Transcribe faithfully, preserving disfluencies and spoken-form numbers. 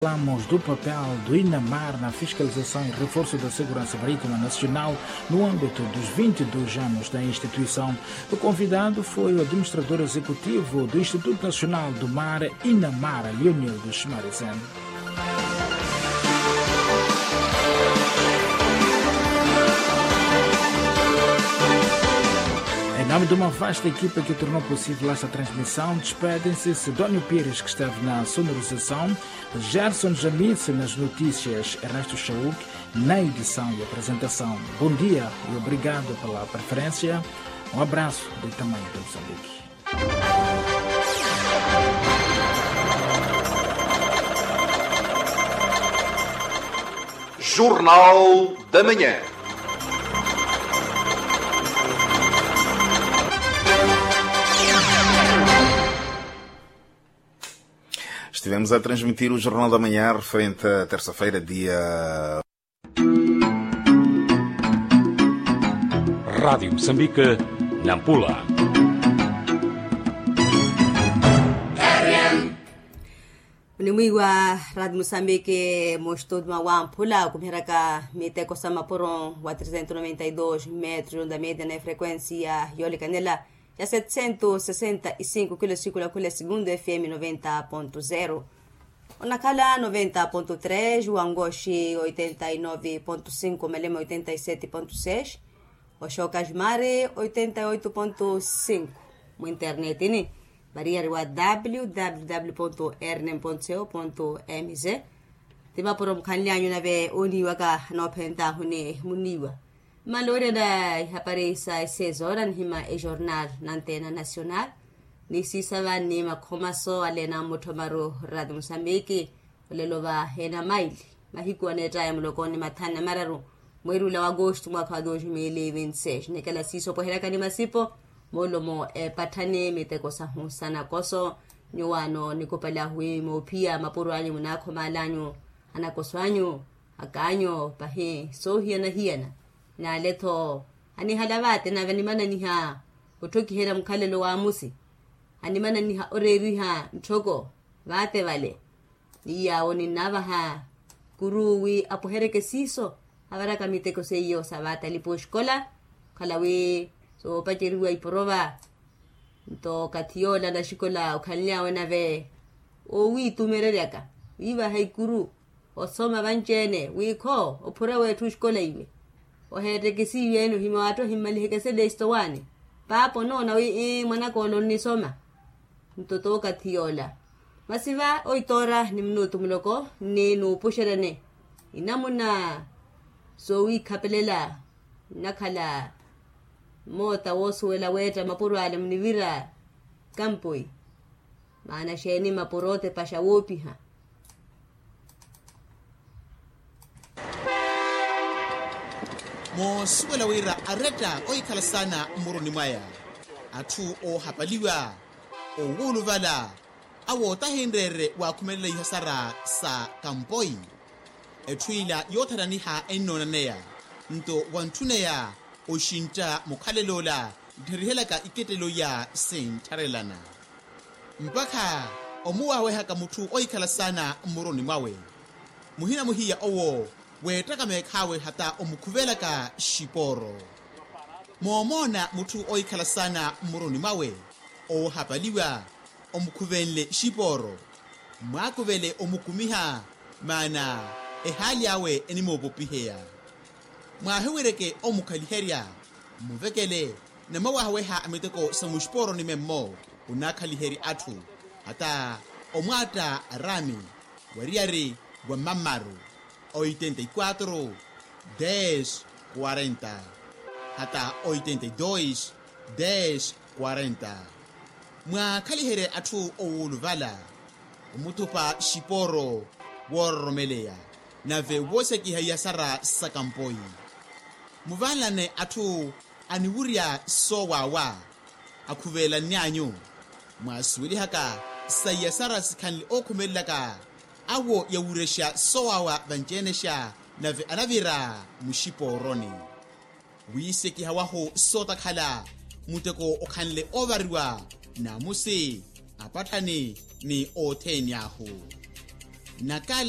Falamos do papel do inamar na fiscalização e reforço da segurança marítima nacional no âmbito dos vinte e dois anos da instituição. O convidado foi o administrador executivo do Instituto Nacional do Mar, inamar, Leonildo Schmarizen. Em nome de uma vasta equipa que tornou possível esta transmissão, despedem-se Sidónio Pires, que esteve na sonorização, Gerson Jamitsi nas notícias, Ernesto Chauk na edição e apresentação. Bom dia e obrigado pela preferência. Um abraço do tamanho de Moçambique. Jornal da Manhã. Estivemos a transmitir o Jornal da Manhã referente à terça-feira, dia. Rádio Moçambique, Nampula. Onimwiiwa Rádio Moçambique, mu studio mwa Wamphula, okumiheryaka miteko sa mapuro wa trezentos noventa e dos metros, onda média na frequência yoolikanela ya setecentos sessenta e cinco kilo, sikula khula segundo F M noventa ponto zero. Onakhala noventa ponto três, Wangoxi oitenta e nove ponto cinco, Malema oitenta e sete ponto seis, Oxoka Jumari oitenta e oito ponto cinco. Mu internetini, variyari wa W W W ponto R N M ponto C O ponto M Z. Ti mapuro mukhanly'anyu nave oniiwaka noophentahuni muniiwa. Mmaloorya na ihapari sa esezora nihima ejornal na antena nacional, ni siisava ni makhomaso ale na mmuthomaru Rádio Moçambique. Olelo va ena maili mahiku aneettaya muloko ni mathanu na mararu, mweeri ula wa agosto mwakha wa dos mil e vinte e seis, nikela siiso opweheryaka ni masipo, moolomo epatthani miteko sahu sa nakoso. Nyuwaano nikupali ahu wi moophiya mapuro anyu munaakhomaal'anyu, anakoso anyu, ak'anyu pahi soohiyana-hiyana. Naale-tho anihala vaate nave animananiha otthokiherya mukhalelo wa amusi, animananiha oreeriha ntthoko vaate vale. Ni yaawo ninnaavaha kuru wi apweheryeke siiso, avaraka miteko seiyo sa vaata alipo oxikola, okhala wi soopaceriwa iporova. Nto okathi yoola naxikola okhanly'awe nave owiitumereryaka wiivaha ikuru, osoma vanci-ene wi kho ophura weetthu oxikola iwe, oheetteke siiyo-ene ohimya waatthu ahimmaliheke selesto waani. Paapa onoona wi ii mwanaka ole onnisoma. Nto tookathi yoola masi va oitoora ni minutu muloko nni nuupuxeryani inamuna soowikhapelela. Nnakhala mmoota woosuwela weetta mapuro ale munivira kampoi. Maana xeeni mapuro otepaxa woopiha? Moosuwela wira aretta ohikhala saana mmuruni mwaya, atthu oohapaliwa, owuuluvala, awo tahinreerye waakhumelela ihasara sa kampoi. Etthu ila yootharaniha ennoonaneya, nto wantthuneya oxintta mukhalel'ola nttherihelyaka ikettelo iya sinttharelana. Mpakha omuwaawehaka mutthu ohikhala saana mmuruni mwawe, muhina muhiya owo weettaka meekhaawe hata omukhuvelaka xipooro. Moomoona mutthu ohikhala saana mmuruni mwawe oohapaliwa, omukhuvenle xipooro, mwaakuvele omukumiha, maana ehaali awe enimoopopiheya. Mwaahiwereke omukhaliherya, mmuvekele, namawaaweha miteko sa muxipooroni memmo, onaakhaliherya atthu, hata omwaatta araami, wariyari wa mammaru, oitenta e quatro, dez, quarenta, hata oitenta e dois, dez, quarenta. Mwaakhaliherye atthu owuuluvala, omuthupa xipooro woororomeleya, nave woosekiha iyasara sa kampoi. Muvanlane atthu aniwurya soowaawa, akhuvelanny'anyu. Mwaasuwelihaka sa iyasara sikhanle ookhumelelaka, awo yawurexa soowaawa vanci-enexa, nave anavira muxipooroni. Wiisekiha wahu sootakhala, muteko okhanle oovariwa, naamusi, apatthani, ni othene ahu. Nakala.